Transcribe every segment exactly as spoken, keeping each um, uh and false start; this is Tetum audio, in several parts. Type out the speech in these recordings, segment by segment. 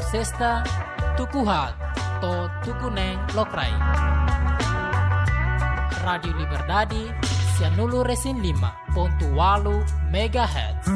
Sesta, tuku haat to'o tuku neen lokraik. Rádiu Liberdade, sianulu-resin-lima pontu ualu megahertz.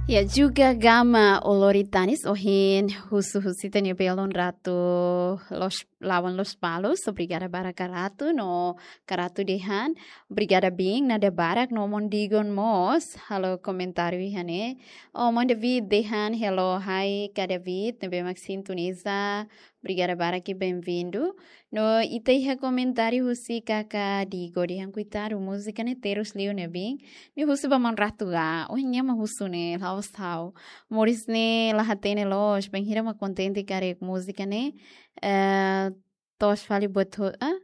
Ya, juga gama Olori Tanis ohin husu husi ita-nia belun Ratu Los, Lawan Lospalos. Obrigada barak ka Ratu, no ka Ratu dehan obrigada biin, nada barak. No maun Digon mós halo komentáriu iha ne'e. Oh, maun David dehan hello, hi ka David ne'ebé mak sintoniza. Obrigada barak i bem-vindu. No ita iha komentáriu husi kaka Digo dehan koitadu, múzika ne'e terus liu ne'e biin. Nia husu ba maun Ratu ga, oh, nia mak husu ne'e, la'ós ha'u. Moris ne'e la hatene loos, bainhira mak kontente karik múzika ne'e, eh, toos fali buat ho-, ah?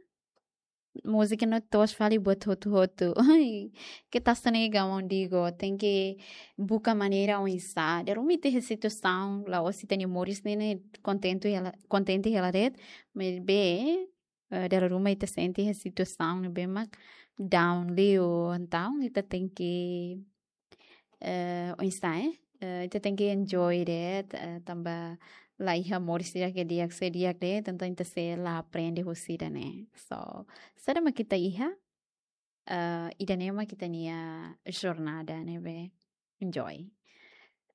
Múzika ne'e toos fali buat hotu-hotu. Ai, ke tasta ne'e ga maun Digo, tenke buka maneira oinsá. Dala ruma ita iha situasaun, la'ós ita-nia moris ne'e, ne'e kontente hela, kontente hela de'it, maibé, eh, dala ruma ita sente iha situasaun ne'ebé mak down liu, entaun ita tenke, eh, oinsá, eh, eh, ita tenke enjoy de'it, eh, tanba la iha moris sira ke di'ak, sei di'ak de'it, entaun ita sei la aprende husi ida-ne'e. So, saida mak ita iha, eh, ida-ne'e mak ita-nia jornada ne'ebé enjoy.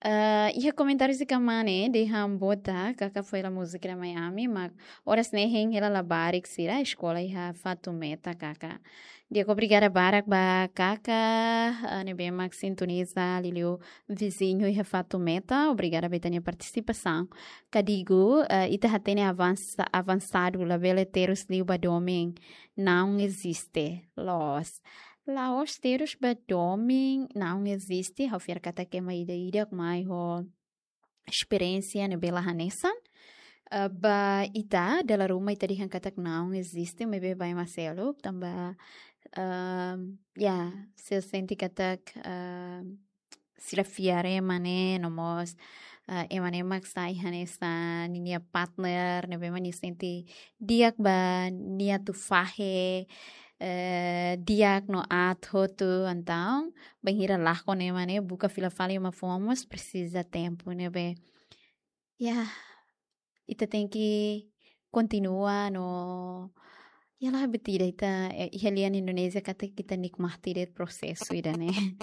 Eh, iha komentáriu husi kaka Mane dehan botak, kaka foin la múzika mai ami, mak oras ne'e hein hela labarik sira eskola iha Fatumeta, kaka. Di'ak, obrigada barak ba kaka, eh, ne'ebé mak sintoniza liuliu viziñu iha Fatumeta. Obrigada ba ita-nia partisipasaun. Ka Digo, eh, ita hatene avansa-, avansadu, labele terus liu ba domin, não existe. Loos. La'ós terus ba domin, não existe. Ha'u fiar katak ema ida-idak mai ho esperiénsia ne'ebé la hanesan. Eh, ba ita, dala ruma ita dehan katak não existe, maibé ba ema seluk, tanba, ehm, ya, sira sente katak, ehm, sira fiar ema ne'e, no mós, eh, ema ne'e mak sai hanesan ninia partner, ne'ebé mak nia sente di'ak ba nia atu fahe, eh, di'ak no aat hotu, entaun bainhira lakon ema ne'e, buka fila fali ema foun mós presiza tempu ne'ebé. Ya, ita tenke kontinua no, ya, la buat ida ita, eh, iha lian Indonézia katak ita nikmati de'it prosesu ida-ne'e.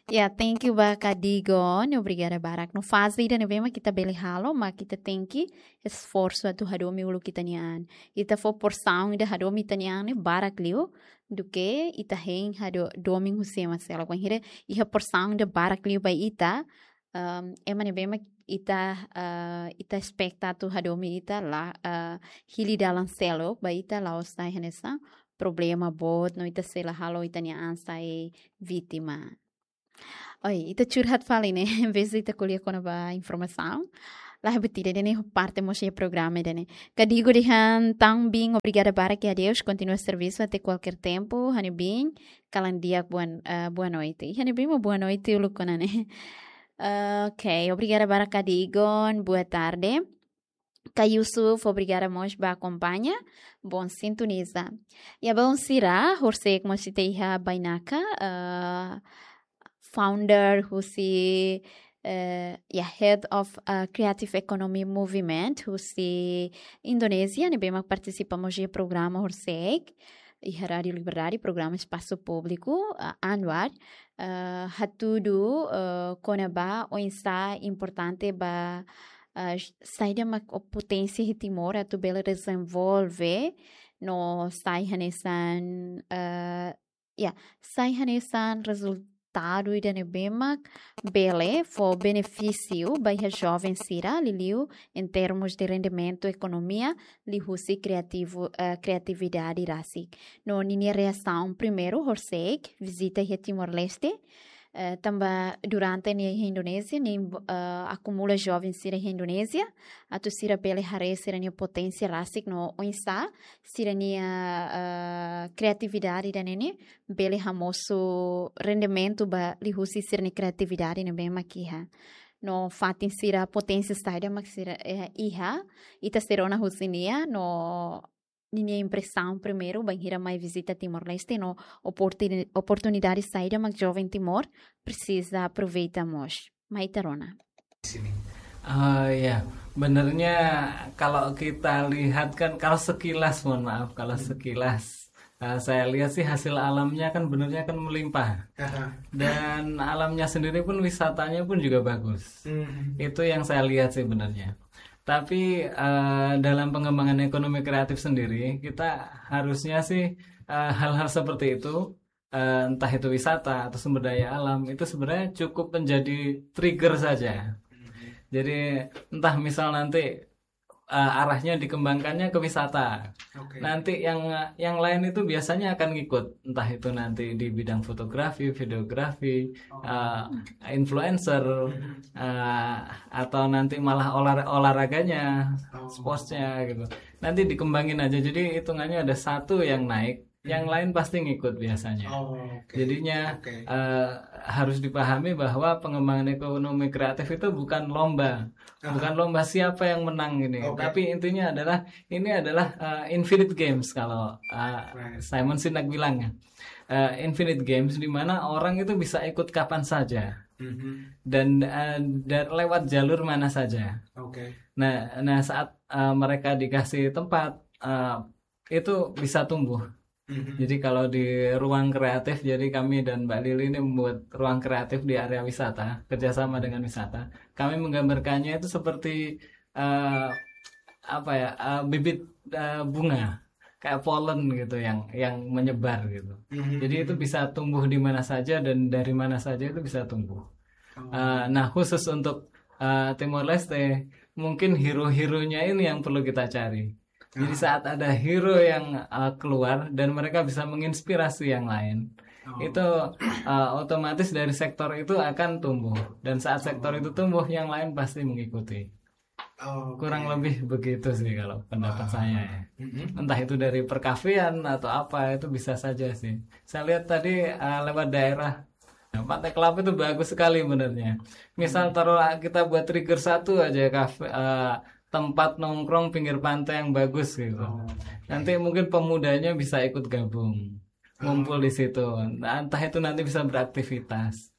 Ya, thank you ba ka Digon, obrigada barak. No faze ida ne'ebé mak ita bele halo, mak ita tenke esforsu atu hadomi uluk ita-nia an. Ita fó porsaun ida hadomi ita-nia an ne'e barak liu, duké ita hein hado-, domin husi ema seluk. Bainhira iha porsaun ida barak liu ba ita, ehm, ema ne'ebé mak ita, eh, ita espeta atu hadomi ita la, eh, hili dalan seluk ba ita, la'ós sai hanesan problema boot no ita sei la halo ita-nia an sai vítima. Oi, ita curhat fali ne'e, em vez de ita ko'alia kona-ba informasaun, la buat ida, ida-ne'e parte mós iha programa ida-ne'e. Ka Digo dehan tan biin, obrigada barak, ke adeus, kontinua servisu até kualkér tempu, ha'u-nia biin, kalan di'ak, boa, eh, boa noite. Ha'u-nia biin mak boa noite uluk ona ne'e. Ah, ok, obrigada barak ka Digon, boa tarde. Ka Yusuf, obrigada mós ba akompaña, bom sintoniza. Ya, belun sira, horisehik mós ita iha bainaka, eh, founder husi, eh, ya, Head of, eh, Creative Economy Movement husi Indonézia, ne'ebé mak partisipa mós iha programa horisehik iha Rádiu Liberdade, programa Espasu Públiku, eh, Anwar, eh, hatudu, eh, kona-ba oinsá importante ba, eh, saida mak poténsia iha Timor atu bele dezenvolve no sai hanesan, eh, ya, sai hanesan rezultadu ida ne'ebé mak bele fó benefísiu ba iha joven sira, liuliu em termos de rendimentu, ekonomia, liuhusi kreativu, eh, kreatividade rasik. No ninia reasaun primeiru, horisehik vizita iha Timor-Leste, eh, tanba durante nia iha Indonézia, nia, eh, akumula joven sira iha Indonézia, atu sira bele haree sira-nia poténsia rasik no oinsá sira-nia, eh, kreatividade ida-ne'e ne'e bele hamosu rendimentu ba liuhusi sira-nia kreatividade ne'ebé mak iha. No fatin sira, poténsia saida mak sira, eh, iha, ita sei rona husi nia, no ninia impresaun primeiru bainhira mai vizita Timor-Leste, no oportuni-, oportunidade saida mak joven Timor presiza aproveita mós. Mai ita rona. Oh ya, benernya kalau kita lihat kan, kalau sekilas, mohon maaf, kalau sekilas, eh, saya lihat sih hasil alamnya kan benernya kan melimpah. Aha. Dan alamnya sendiri pun, wisatanya pun juga bagus. Mhm. Itu yang saya lihat sih benernya. Tapi, eh, dalam pengembangan ekonomi kreatif sendiri, kita harusnya sih, eh, hal-hal seperti itu, eh, entah itu wisata atau sumber daya alam, itu sebenarnya cukup menjadi trigger saja. Mhm. Jadi, entah misal nanti, eh, arahnya dikembangkannya ke wisata. Oke. Nanti yang, yang lain itu biasanya akan ngikut, entah itu nanti di bidang fotografi, videografi, Oh. eh, influencer, Mhm. eh, atau nanti malah olah-, olahraganya, Oh. sportsnya gitu. Nanti dikembangin aja. Jadi hitungannya ada satu yang naik, yang Mhm. lain pasti ngikut biasanya. Oh, oke. Jadinya, Oke. eh, harus dipahami bahwa pengembangan ekonomi kreatif itu bukan lomba. Aha. Bukan lomba siapa yang menang ini. Oke. Tapi intinya adalah, ini adalah, eh, infinite games kalau, eh, Right. Simon Sinek bilang ya. Eh, infinite games di mana orang itu bisa ikut kapan saja. Mhm. Dan, eh, dan lewat jalur mana saja. Oke. Nah, nah, saat, eh, mereka dikasih tempat, eh, itu bisa tumbuh. Mhm. Jadi kalau di ruang kreatif, jadi kami dan Mbak Lili ini membuat ruang kreatif di area wisata, kerjasama dengan wisata. Kami menggambarkannya itu seperti, eh, apa ya, eh, bibit, eh, bunga, kayak polen gitu yang, yang menyebar gitu. Mhm. Jadi itu bisa tumbuh di mana saja dan dari mana saja itu bisa tumbuh. Oh. Eh, nah, khusus untuk, eh, Timor Leste, mungkin hero-heronya ini yang perlu kita cari. Jadi Ah. saat ada hero yang, eh, keluar dan mereka bisa menginspirasi yang lain, Oh. itu, eh, otomatis dari sektor itu akan tumbuh. Dan saat sektor Oh. itu tumbuh, yang lain pasti mengikuti. Oh, oke. Kurang lebih begitu sih kalau pendapat Ah. saya ya. Mm-mm. Entah itu dari perkafean atau apa, itu bisa saja sih. Saya lihat tadi, eh, lewat daerah, Pantai Kelapa itu bagus sekali benernya. Misal Hmm. taruhlah kita buat trigger satu aja, kafe, eh, tempat nongkrong pinggir pantai yang bagus gitu. Oh, oke. Nanti mungkin pemudanya bisa ikut gabung, Oh. ngumpul di situ. Nah, entah itu nanti bisa beraktivitas.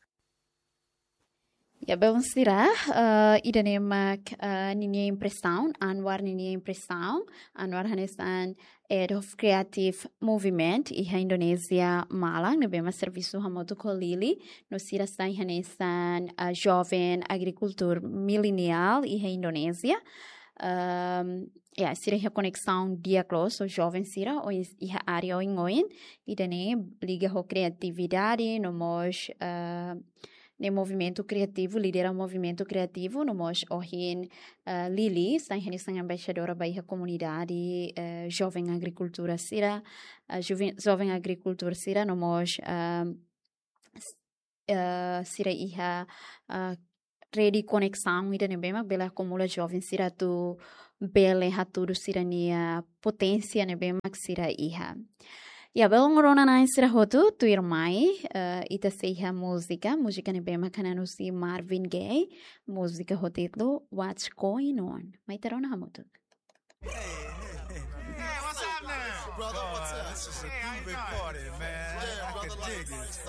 Ya, belun sira, eh, ida-ne'e mak, eh, ninia impresaun, Anwar ninia impresaun, Anwar hanesan Head of Creative Movement iha Indonézia malan, ne'ebé mak servisu hamutuk ho Lili, no sira sai hanesan, ah, joven agrikultór mileniál iha Indonézia. Ehm, ya, sira iha koneksaun di'ak loos ho joven sira, oin, iha área oioin, ida-ne'e liga ho kreatividade, no mós, eh, ne'e movimentu kreativu, lidera movimentu kreativu, no mós ohin, eh, Lili sai hanesan embaixadora ba iha komunidade, eh, joven agrikultór sira, eh, joven, joven agrikultór sira, no mós, eh, s-, eh, sira iha, eh, rede koneksaun ida ne'ebé mak bele akumula joven sira atu bele hatudu sira-nia poténsia ne'ebé mak sira iha. Ya, belun rona-na'in sira hotu, tuirmai, eh, ita sei iha múzika, múzika ne'ebé mak hanesan husi Marvin Gaye, múzika ho títulu What's Going On. Mai ita rona hamutuk. Hey, what's up now? Brother, what's up? This is a groovy party, man. Yeah, I can dig it.